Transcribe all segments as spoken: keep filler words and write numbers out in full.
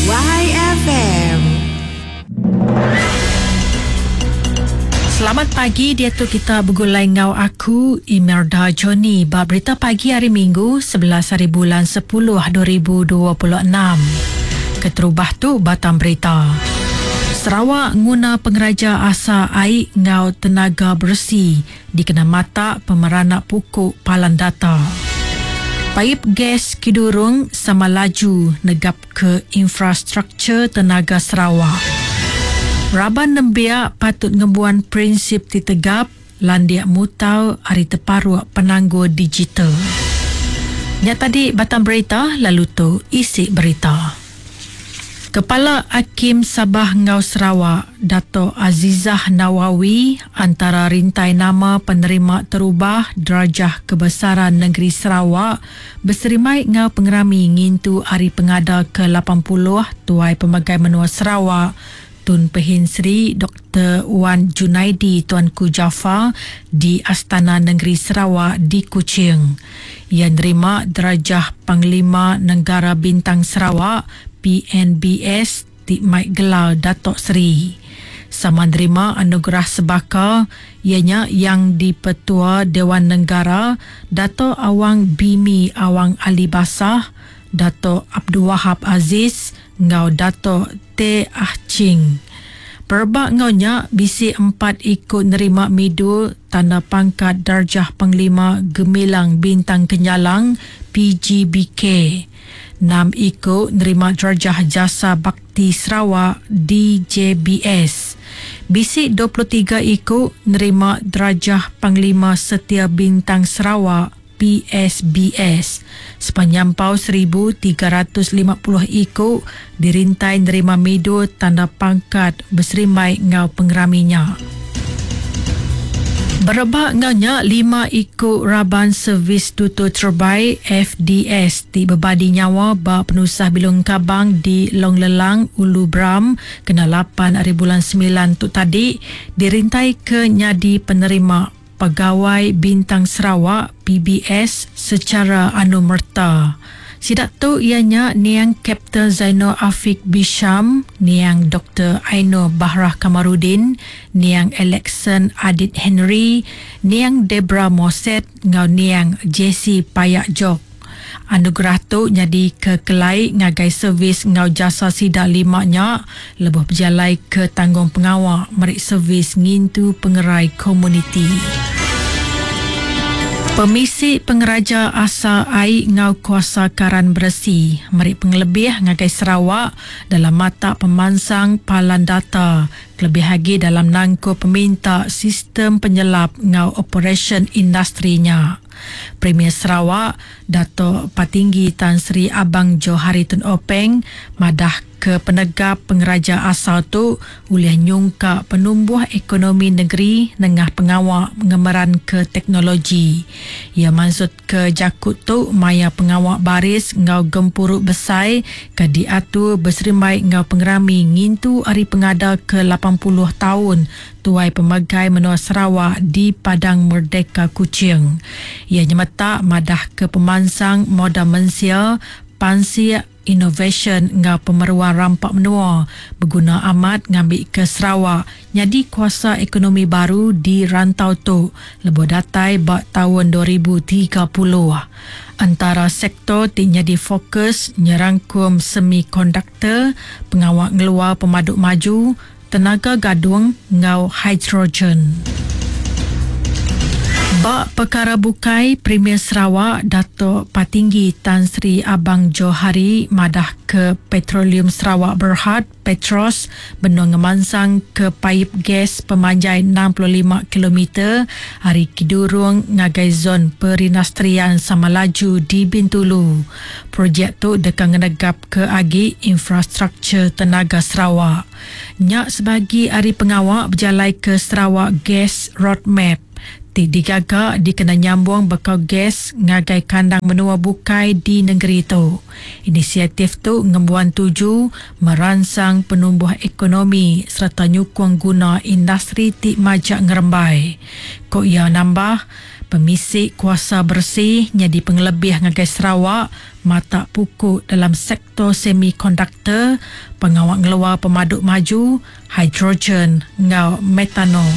Y F M. Selamat pagi, dia tu kita bergulai ngau aku Imelda Johnny ba berita pagi hari Minggu sebelas hari bulan sepuluh dua ribu dua puluh enam. Keterubah tu batang berita. Sarawak nguna pengeraja asa air ngau tenaga bersih dikena mata pemeranak pukuk palan data. Paip gas Kidurong sama laju negap ke infrastruktur tenaga Sarawak. Raban nembiak patut ngembuan prinsip ti tegap landiak mutau ari teparuk penanggul digital. Nya tadi batang berita, lalu tu isi berita. Kepala Hakim Sabah Ngau Sarawak, Dato' Azizah Nawawi antara rintai nama penerima terubah Darjah Kebesaran Negeri Sarawak berserimai ngau pengerami ngintu Hari Pengada ke lapan puluh Tuai Pemagai Menua Sarawak Tun Pehin Sri Doktor Wan Junaidi Tuanku Jaafar di Astana Negeri Sarawak di Kuching. Ia nerima Darjah Panglima Negara Bintang Sarawak P N B S ti mai gelar Datuk Seri. Sama nerima anugerah sebaka ianya yang di-Pertua Dewan Negara Dato' Awang Bimi Awang Ali Basah, Dato' Abdul Wahab Aziz ngau Dato' T Ah Ching. Perebak ngau nya bisi empat ikut nerima midul tanda pangkat Darjah Panglima Gemilang Bintang Kenyalang P G B K. Enam ikut nerima Darjah Jasa Bakti Sarawak D J B S. Bisi dua puluh tiga ikut nerima Darjah Panglima Setia Bintang Sarawak P S B S. Sepanjang pau seribu tiga ratus lima puluh ikut dirintai nerima midul tanda pangkat berserimai ngau pengeraminya. Berebak ngaunya lima ikut raban servis tutur terbaik F D S ti berbadi nyawa ba penusah bilung kabang di Long Lelang, Ulu Bram kena lapan hari bulan sembilan tu tadi dirintai ke nyadi penerima Pegawai Bintang Sarawak P B S secara anumerta. Sidak tu ianya niang Kapten Zainal Afiq Bisham, niang Doktor Aino Bahrah Kamarudin, niang Alexon Adit Henry, niang Debra Moset ngau niang Jesse Payak Jok. Anugerah tu jadi kekelai ngagai servis ngau jasa sidak lima nya lebuh berjalai ke tanggung pengawak merik servis ngintu pengerai komuniti. Pemisi Pengeraja Asa Air Ngau Kuasa Karan Beresi merik pengelebih ngagai Sarawak dalam mata pemansang palan data kelebih lagi dalam nangku peminta sistem penyelap ngau operasi industrinya. Premier Sarawak Dato' Patinggi Tan Sri Abang Johari Tun Openg madah ke penegap pengeraja asal tu ulih nyungka penumbuh ekonomi negeri nengah pengawak mengemeran ke teknologi. Ia maksud ke jakut tu maya pengawak baris ngau gempuruk besai ke diatur berserimai ngau pengerami ngintu hari pengada ke lapan puluh tahun Tuai Pemagai Menua Sarawak di Padang Merdeka Kuching. Ia nyemetak madah ke pemansang modal mensia, pansik, innovation ngau pemeruan rampak menua berguna amat ngambil ke Sarawak jadi kuasa ekonomi baru di rantau tu lebuh datai bak tahun dua ribu tiga puluh. Antara sektor ti jadi fokus nyerangkum semikonduktor, pengawak ngeluar pemaduk maju, tenaga gadung ngau hidrogen. Bak perkara bukai, Premier Sarawak Dato' Patinggi Tan Sri Abang Johari madah ke Petroleum Sarawak Berhad Petros benung ngemansang ke paip gas pemanjai enam puluh lima kilometer hari Kidurong ngagai zon perindustrian Samalaju di Bintulu. Projek tu deka ngenegap ke agi infrastruktur tenaga Sarawak. Nyak sebagi hari pengawak berjalai ke Sarawak Gas Roadmap. Ti digaga dikena nyambung bekal gas ngagai kandang menua bukai di negeri tu. Inisiatif tu ngembuan tuju merangsang penumbuh ekonomi serta nyukung guna industri ti majak ngerembai. Kok ia nambah, Pemisi kuasa bersih jadi pengelebih ngagai Sarawak mata pukul dalam sektor semikonduktor, pengawal ngeluar pemaduk maju, hidrogen ngau metanol.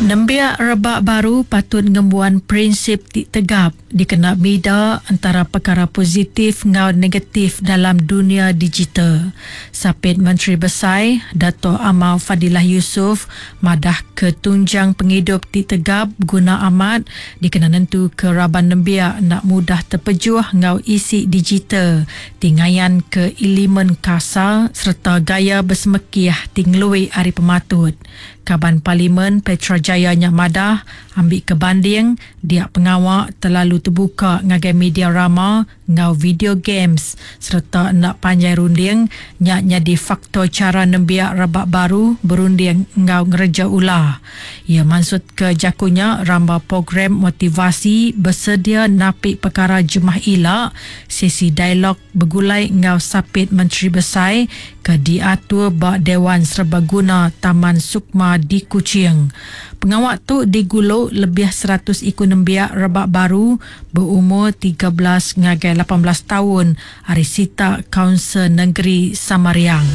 Nembiak rebak baru patut ngembuan prinsip ti tegap dikena bida antara perkara positif ngau negatif dalam dunia digital. Sapit Menteri Besai, Dato' Amar Fadillah Yusof, madah ketunjang penghidup ti tegap guna amat dikena nentu ke raban nembiak nak mudah terpejuh ngau isi digital tingayan ke elemen kasar serta gaya bersemekiah tinglui hari pematut. Kaban Parlimen Petra Jaya nyak madah ambil kebanding dia pengawak terlalu terbuka ngagai media rama ngau video games serta nak panjai runding nyak nyadi faktor cara nembiak rebak baru berunding ngau ngereja ulah. Ia maksud ke jakunya ramba program motivasi bersedia napik perkara jemah ila sesi dialog bergulai ngau Sapit Menteri Besai ke diatur bak Dewan Serbaguna Taman Sukma di Kuching. Pengawak tu diguluk lebih seratus ikut nembiak rebak baru berumur tiga belas ngagai lapan belas tahun hari sita Kaunsil Negeri Samariang.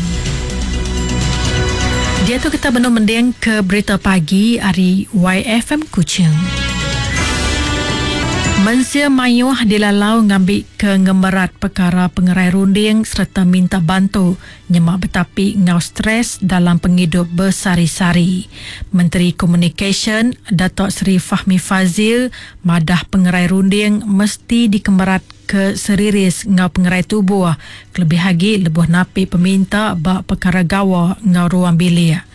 Dia tu kita benar mending ke berita pagi hari Y F M Kuching. Mensia mayuh dilalau ngambil ke ngemerat perkara pengerai runding serta minta bantu nyemak betapi ngau stres dalam penghidup bersari-sari. Menteri Komunikasi Datuk Seri Fahmi Fazil madah pengerai runding mesti dikemerat ke seriris ngau pengerai tubuh kelebih lagi lebuh napi peminta bak perkara gawa ngau ruang bilik.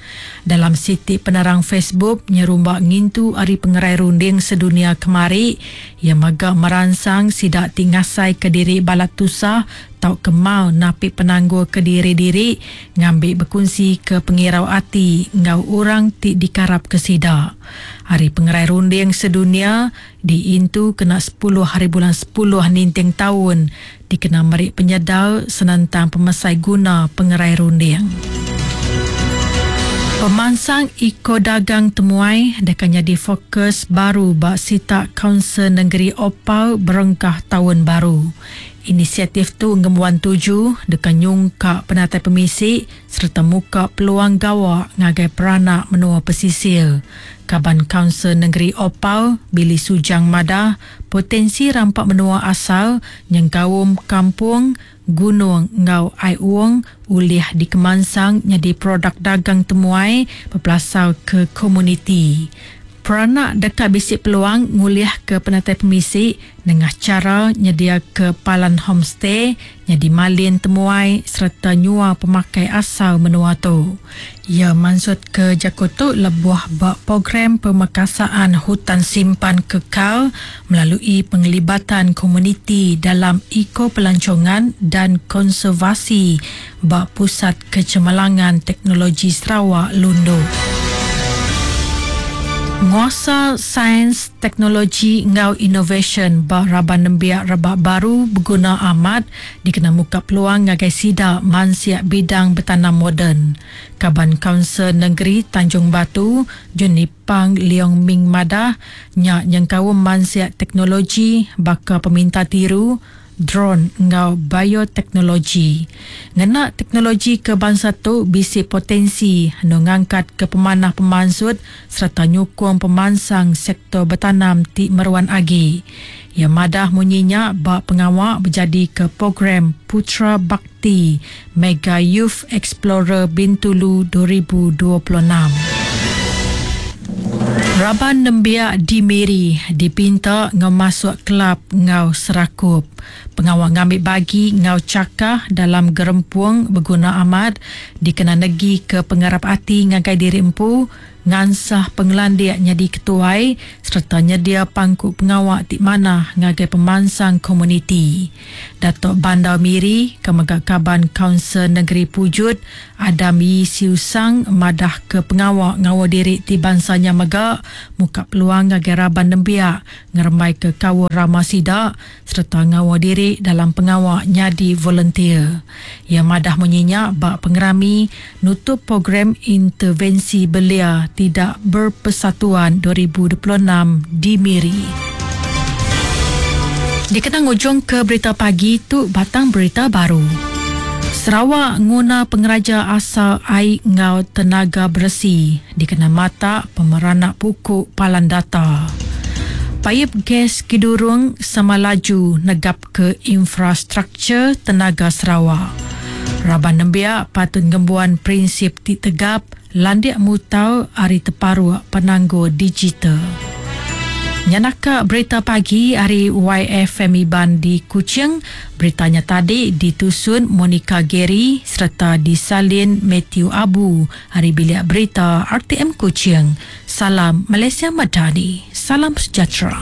Dalam siti penerang Facebook nyerumbak ngintu hari pengerai runding sedunia kemari yang magak merangsang sidak tingasai ke diri balat tusah tau kemal napi penangguh ke diri-diri ngambil berkongsi ke pengirau ati ngau orang ti dikarap ke sidak. Hari pengerai runding sedunia diintu kena sepuluh hari bulan sepuluh ninting tahun dikena merik penyedar senentang pemesai guna pengerai runding. Pemansang Eko Dagang Temuai dekan jadi fokus baru bak sita Kaunsil Negeri Opau berengkah tahun baru. Inisiatif tu ngembuan tuju dekan nyungkak penatai pemisi serta muka peluang gawak ngagai peranak menua pesisir. Kaban Kaunsil Negeri Opau, Billy Sujang Madah, potensi rampak menua asal nyengkaum kampung, gunung ngau ai uang ulih dikemansang jadi produk dagang temuai berpelasar ke komuniti. Peranak dekat bisik peluang ngulih ke penatai pemisi dengan cara nyedia ke palan homestay jadi malin temuai serta nyua pemakai asal menua tu. Ia maksud ke Jakotu lebuh bak program pemekasaan hutan simpan kekal melalui penglibatan komuniti dalam eko pelancongan dan konservasi bak Pusat Kecemerlangan Teknologi Sarawak Lundu. Nguasa Sains, Teknologi ngau Innovation bak raban nembiak rebak baru berguna amat dikena muka peluang ngagai sida mansiak bidang bertanam moden. Kaban Kaunsil Negeri Tanjung Batu, Juni Pang Leong Ming Madah, nyak nyengkaum mansiak teknologi baka peminta tiru, drone ngau bioteknologi. Ngena teknologi ke bangsa tu bisi potensi nu ngangkat ke pemanah pemansut serta nyukung pemansang sektor bertanam ti meruan agi. Ya madah munyinya bak pengawak berjadi ke program Putra Bakti Mega Youth Explorer Bintulu dua ribu dua puluh enam. Raban nembiak di Miri dipinta ngau masuk kelab ngau serakup. Pengawal ngambil bagi ngau cakah dalam gerempuang berguna amat dikena negi ke pengarap ati ngagai diri empu ngansah pengelandiak nyadi ketuai serta nyedia pangku pengawak ti manah ngagai pemansang komuniti. Datuk Bandar Miri kemega Kaban Kaunsil Negeri Pujut Adam Yii Siew Sang madah ke pengawak ngawa diri ti bangsanya mega muka peluang ngagai raban nembiak ngerembai ke kawa rama sida serta ngawa diri diri dalam pengawa nyadi volunteer. Iya madah munyi nya ba pengerami nutup Program Intervensi Belia Tidak Berpersatuan dua ribu dua puluh enam di Miri. Dikena ngujungka berita pagi tu, batang berita baru. Sarawak nguna pengeraja asal air ngau tenaga bersih dikena mata pemeranak pukuk palan data. Paip gas Kidurong sama laju negap ke infrastruktur tenaga Sarawak. Raban nembiak patut ngembuan prinsip ti tegap landik mutau ari teparuk penanggur digital. Nyanaka berita pagi hari Y F M Iban di Kuching. Beritanya tadi ditusun Monica Gary serta disalin Matthew Abu hari bilik berita R T M Kuching. Salam Malaysia Madani. Salam sejahtera.